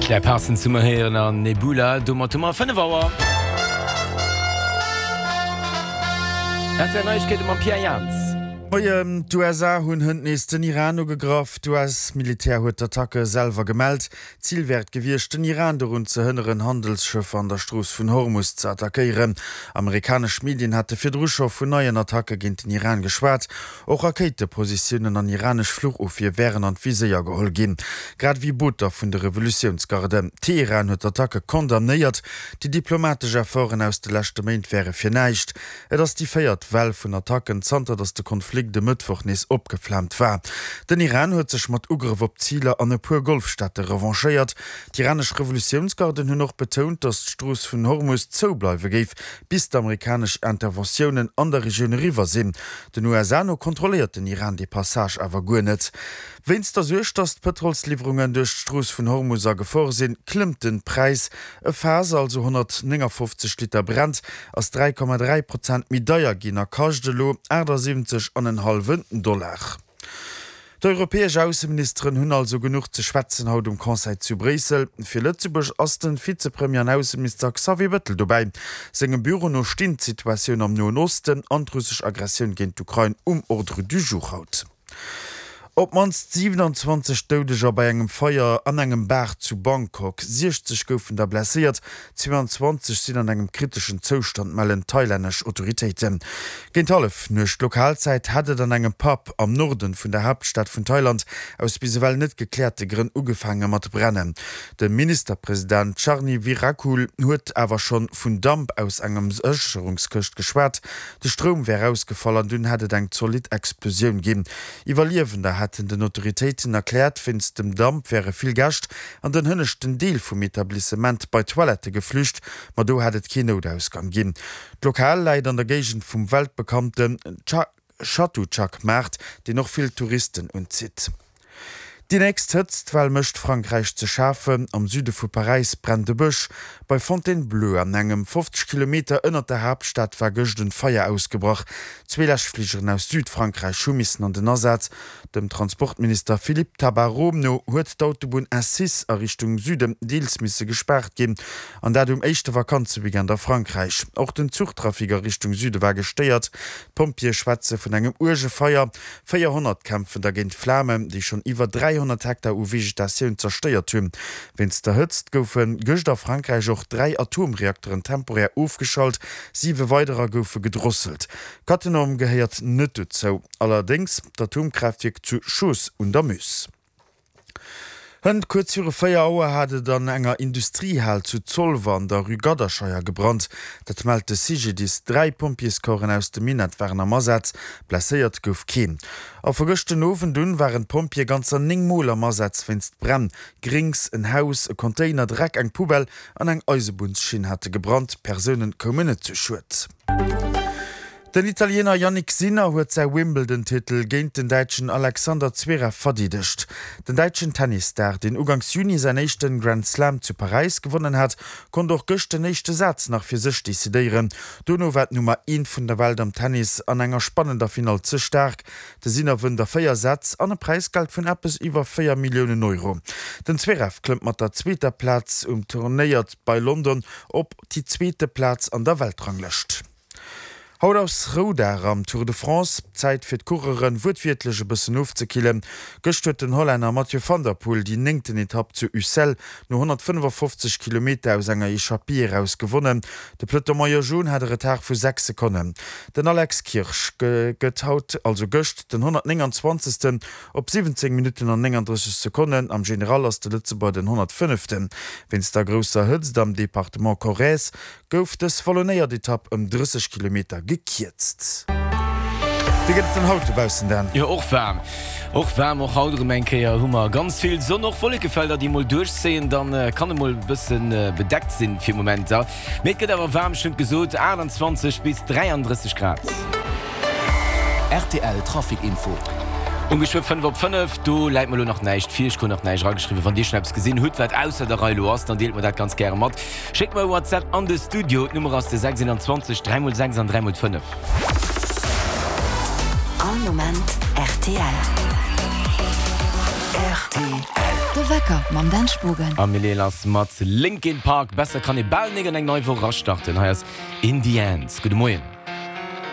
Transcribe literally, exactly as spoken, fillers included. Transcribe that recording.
Claire Parsons hu mer héieren an Nebula. Domat hu mer fënnef Auer. R T L Neiegkeete mam Pierre Jans. Moien, D'U S A hunn hënt nees den Iran ugegraff. D'U S-Militär huet d'Attacke selwer gemellt. Zil wär et gewiescht, den Iran dorun ze hënneren, Handelsschëffer an der Strooss vun Hormus ze attackéieren. Amerikanesch Medien hate virdru scho vun neien Attacke géint den Iran geschwat. Och Rakéitepositiounen an iranesch Fluchofwier wären an d'Viséier geholl ginn, grad ewéi Booter vun de Revolutiounsgarden. Teheran huet d'Attacke condamnéiert. Déi diplomatesch Efforten aus de leschte Méint wäre fir näischt. Et ass déi véiert Well vun Attacken, zanter datt de Konflikt e Mëttwoch nees opgeflaamt war. Den Iran huet sech mat Ugrëff op Ziler an e puer Golfstaate revanchéiert. D'iranesch Revolutiounsgarden hunn och betount, datt d'Strooss vun Hormus zou bleiwe géif, bis d'amerikanesch Interventiounen an der Regioun eriwwer sinn. Den U S A no kontrolléiert den Iran dee Passage awer guer net. Wéinst der Suerg, datt d'Pëtrolsliwwerungen duerch d'Strooss vun Hormus a Gefor sinn, klëmmt de Präis. E Faass, also honnertnéngafofzeg Liter Brent, ass dräi Komma dräi Prozent méi deier ginn a kascht elo achtasiwwenzeg an en hallwen Dollar. D'europäesch Ausseministeren hunn also genuch ze schwätzen haut um Conseil zu Bréissel. Fir Lëtzebuerg ass de Vizepremier an Ausseminister Xavier Bettel dobäi. Sengem Büro no stinn d'Situatioun am Noen Osten an d'russesch Aggressioun géint d'Ukrain um Ordre du jour haut. Op d'mannst siwenanzwanzeg Doudeger bei engem Feier an engem Bar zu Bangkok. siechzeg goufen der blesséiert, zweeanzwanzeg sinn an engem kriteschen Zoustand, mellen thailännesch Autoritéiten. Géint Hallefnuecht Lokalzäit hat et an engem Pub am Norden vun der Haaptstad vun Thailand aus bis ewell net gekläerte Grënn ugefaange mat brennen. De Ministerpresident Charnvirakul huet awer schonn vun Damp aus enger Sécherungskëscht geschwat. De Stroum wär ausgefall an dunn hätt et eng zolidd Explosioun ginn. Iwwerliewender hätten den Autoritéiten erkläert, wéinst dem Damp wäre vill Gäscht an den hënneschten Deel vum Etablissement bei d'Toilette geflücht, ma do hätt et keen Noutausgang ginn. D'Lokal läit an der Géigend vum weltbekannten Chatuchak-Maart, deen och vill Touristen unzitt. Déi nächst Hëtztwell mécht Frankräich ze schafen. Am Süde vu Paräis brennt e Bësch. Bei Fontainebleau, an engem fofzeg Kilometer ënnert der Haaptstad, war gëscht en Feier ausgebrach. Zwee Läschfligeren aus Südfrankräich hu missen an den Asaz. Dem Transportminister Philippe Tabarot no huet d'Autobunn A sechs a Richtung Süden deels misse gespaart ginn, an dat um éischte Vakanzeweekend a Frankräich. Och den Zuchtrafic a Richtung Süde war gestéiert. D'Pompjeeë schwätze vun engem uerge Feier. véierhonnert kämpfen da géint d'Flamen, déi schonn iwwer dräihonnert Hektar u Vegetatioun zerstéiert hunn. Wéinst der Hëtzt goufe gëscht a Frankräich och dräi Atomreakteren temporär ofgeschalt, siwe weiderer goufe gedrosselt. Cattenom gehéiert net dozou, allerdéngs d'Atomkraaftwierk zu Chooz un der Meuse. Hënt kuerz viru véier Auer hat et an enger Industriehal zu Zolwer an der Rue Gadderscheier gebrannt. Dat mellt de C G D I S. Dräi Pompjeescorpsen aus dem Minett waren am Asaz, blesséiert gouf keen. A vu gëscht den Owend un waren d'Pompjeeë ganzer néng Mol am Asaz wéinst Bränn. Gréngs, en Haus, e Container, Dreck, eng Poubelle an eng Eisebunnschinn hate gebrannt. Persoune koumen net zu Schued. Den Italiener Jannik Sinner huet säi Wimbledon-Titel géint den Däitschen Alexander Zverev verdeedegt. Den däitschen Tennisstar, deen uganks Juni säin éischte Grand Slam zu Paräis gewonnen hat, konnt och gëscht den éischte Saz nach fir sech decidéieren. Dono war d'Nummer eent vun der Welt am Tennis an enger spannender Finall ze staark. De Sinner wënnt a véier Sätz an e Präisgeld vun eppes iwwer véier Milliounen Euro. Den Zverev klëmmt mat der zweeter Plaz um Turnéier bei London op déi zweete Plaz an der Weltranglëscht. Haut ass Roudag am Tour de France, Zäit fir d'Coureuren wuertwiertlech e bëssen ofzekillen. Gëscht huet den Hollänner Mathieu van der Poel déi néngten Etapp zu Ussel no honnertfënnefafofzeg Kilometer aus enger Echappée eraus gewonnen. De Peloton Maillot Jaune hat e Retard vu sechs Sekonnen. Den Alex Kirsch gëtt haut, also gëscht, den honnertnénganzwanzegsten op siwwenzéng Minutten an nénganddrësseg Sekonnen. Am General ass de Lëtzebuerger den honnertfënneften. Wéinst der grousser Hëtzt am Departement Corrèze gouf dës wallonéiert Etapp ëm drësseg Kilometer gekierzt. Wéi gëtt et dann haut dobaussen, Dan? Jo, och waarm. Och waarm, och haut erëm eng Kéier hu mer ganz vill Sonn, och Wollekefelder, déi mol duerchzéien. Dann kann et mol e bësse bedeckt sinn fir Momenter, mee et gëtt awer waarm, ech hunn et gesot, aachtanzwanzeg bis dräianddrësseg Grad. R T L Trafic Info. Um geschwë fënnef op fënnef, do läit mer elo nach näischt vir, ech krut nach näischt erageschriwwen. Wann Dir schonn eppes gesinn hutt, wat ausser der Rei elo ass, dann deelt mer dat ganz gäre mat. Schéckt mer e WhatsApp an de Studio, d'Nummer ass de sechs een zwanzeg dräi mol sechs an dräi mol fënnef. All Moment R T L. R T L. De Wecker mam Dan Spogen. A mir leeë lass mat Linkin Park. Besser kann ee bal nik an eng nei Woch erastarten. Hei ass In The End. Gudde Moien.